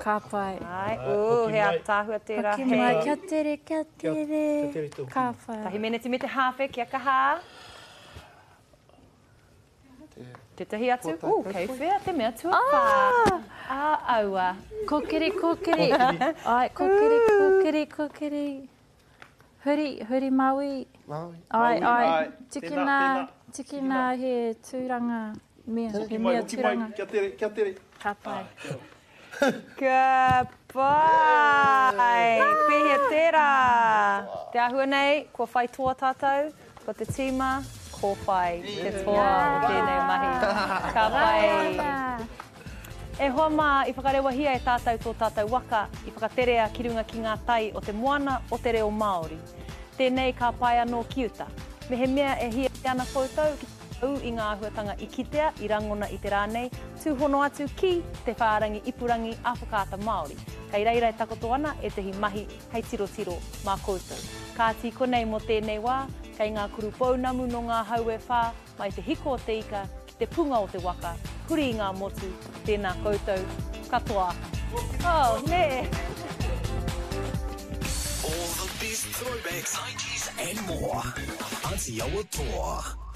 Ka pai. Āe, ū, he ātaahua tērā. Hoki mai, kia tere, kia tere. Kia tere te hoki mai. Ka pai. Tahi meneti me te hāwhe, kia kaha. Tētahi atu, ū, kei whea te mea tuawhā? Ā, aua. Kōkiri, kōkiri. Āe, kōkiri, kōkiri, kōkiri. Huri, huri Māui. Māui. Āe, āe. Āe. Tikina, tikina he tūranga mea, he mea Hoki mai, hoki mai, tūranga. kia tere, kia tere. Ka pai. Ka pai! Pēhea tērā? Te āhua nei, kua whai toa tātou, ko te tīma, ko whai te toa o tēnei mahi. Ka pai! E hoa mā, i whakarewahia e tātou tō tātou waka, i whakaterea ki runga ki ngā tai o te moana o te reo Māori. Tēnei ka pae anō ki uta. Mehemea e hiahia ana koutou ki te ū i ngā āhuatanga i kitea, i rangona i te rā nei, tūhono atu ki te whārangi ipurangi a Whakaata Māori. Kei reira e takoto ana ētahi mahi hei tirotiro mā koutou. Kāti konei mō tēnei wā, kei ngā kuru pounamu nō ngā hau e whā, mai te hiko o te ika ki te punga o te waka, huri i ngā motu, tēnā koutou katoa. Oh, nē! All the best throwbacks, 90s and more. Atiawa Toa.